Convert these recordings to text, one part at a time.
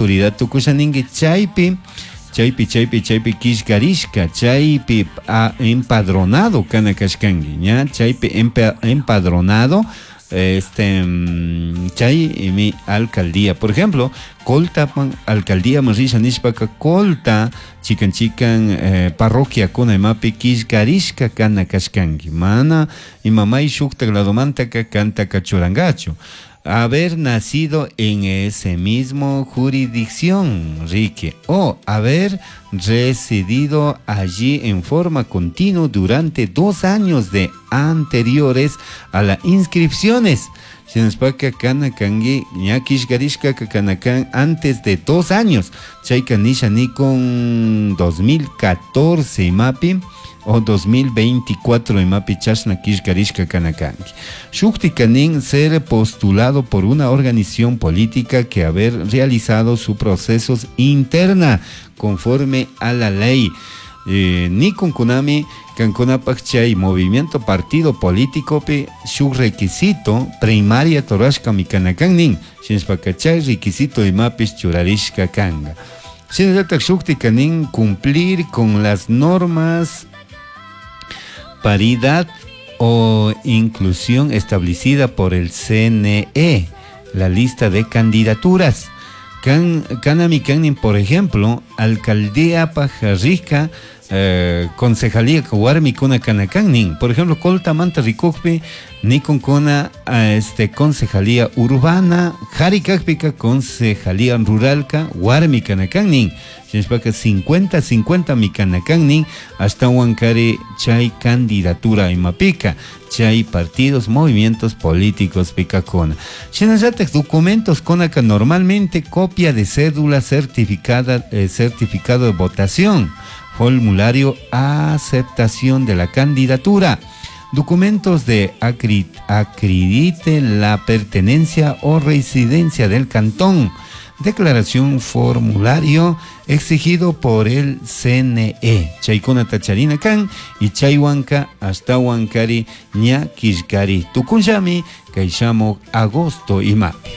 Autoridad tukusha ninki chaypi chaypi chaypi chaypi killkarishka chaypi empadronado kana kashkanki ña chaypi empadronado este chay mi alcaldía. Por ejemplo, Colta alcaldía risha nishpaka Colta chikan chikan parroquia kuna imapi killkarishka kana kashkanki mana imamay shuktak ladomantaka kantaka churangachu. Haber nacido en ese mismo jurisdicción, Rique, o haber residido allí en forma continua durante 2 años de anteriores a las inscripciones. Shinashpaka kana kanki ña killkarishkaka kana kan antes de 2 años. Chayka nisha nikun 2014 imapi o 2024 imapi chashna killkarishka kana kanki. Shuktika nin ser postulado por una organización política que haber realizado sus procesos interna conforme a la ley. Nikunkunami kankunapak chay movimiento partido político pi shuk requisito primaria rurashkami kana kan nin shinashpaka chay requisito imapish churarishka kanga. Shinallatak shuktika nin cumplir con las normas paridad o inclusión establecida por el CNE, la lista de candidaturas. Kanami kanin, por ejemplo, alcaldía pajarrica, concejalía warmikuna kana kan nin. Por ejemplo, Coltamanta rikukpi, nikunkuna concejalía urbana, Jarikakpika concejalía ruralka, warmi kana kan nin. Shinashpaka 50-50 mi kana kan nin, hasta wankari chay candidatura imapika, chay partidos, movimientos políticos pikakuna. Shinallatak documentos kunaka normalmente copia de cédula certificada, certificado de votación, formulario aceptación de la candidatura, documentos de acredite la pertenencia o residencia del cantón, declaración formulario exigido por el CNE. Chaykunata charina kan y chaywanka ashtawankari ña killkari tukunllami kay shamuk agosto imapi.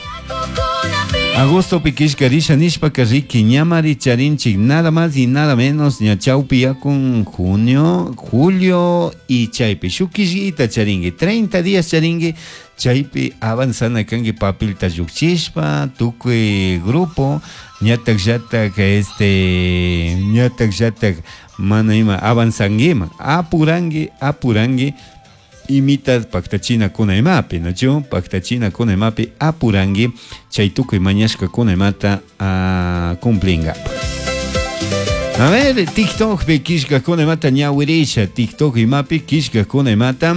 Agosto killkarisha nishpaka riki ñamari charinchik nada más y nada menos ña chawpi yakun junio, julio y chaypi shuk killita charinki 30 días charinki chaypi avanzana kanki papelta llukchishpa tukuy grupo ñatak llatak ñatak llatak mana ima avanzanguiman apuranki apuranki imita paktachina kuna imapi, nachu paktachina kuna imapi apuranki chay tukuy mañashkakuna imata cumplinga. A ver, TikTok pi killkakuna imata ñawirisha, TikTok imapi killkakuna imata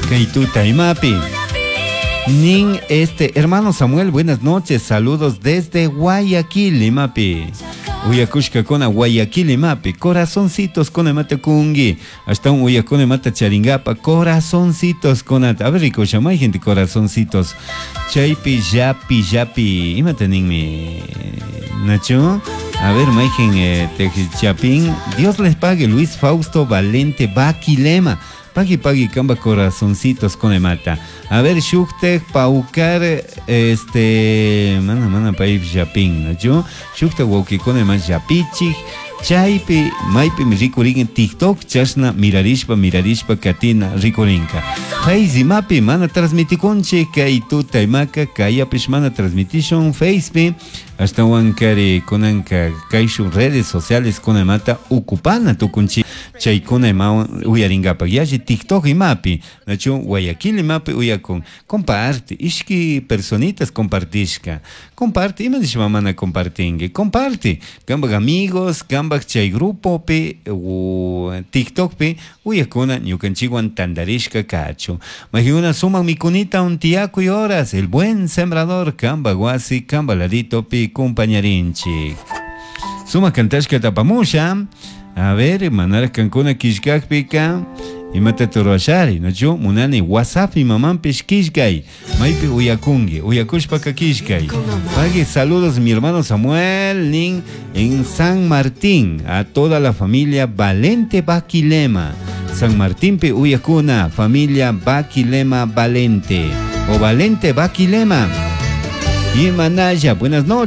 kay tuta imapi. Nin hermano Samuel, buenas noches, saludos desde Guayaquil, imapi. Uyakushkakuna Guayaquil imapi, corazoncitos kuna imata kungi, hasta un uyakuna imata charingapa, corazoncitos kunata. A ver, rico, hay gente corazoncitos. Chaypi, yapi, yapi, imata ninmi, Nacho. A ver, mayqin chapin. Dios les pague, Luis Fausto Valente Baquilema. Pagui pagui kamba corazoncitos kuna imata. A ver, shuktek paukar mana mana pay yapin, nachu? Shuktek wawkikuna ima yapichik chaypi maypi rikurin TikTok chashna mirarishpa mirarishpa katina rikurinka. Face imapi mana transmitikunchik kay tuta imaka kayapish mana transmitishun Facepi ashtawankari kunanka kayshun redes sociales kuna imata ukupana tukunchik chaykuna imawan uyarinkapak yalli TikTok imapi nachu Guayaquil imapi uyakun comparte ishki personitas compartishka comparte ima nishpa mana compartinki comparte kambak amigos kambak chay grupopi TikTokpi uyakuna ñukanchikwan tantarishka kachu mayqinuna sumak mikunita untiyakuy horas el buen sembrador kambak wasi kamba laditopi kumpañarinchik sumak kantashka tapamusha. A ver, manarak kankuna killkakpika imata rurashari, nachu munani WhatsApp imamanpish killkay maypi uyakunki uyakushpaka killkay. Pagui saludos mi hermano Samuel nin en San Martín a toda la familia Valente Baquilema. San Martín pi uyakuna familia Baquilema Valente o Valente Baquilema. Y Manaya, buenas noches.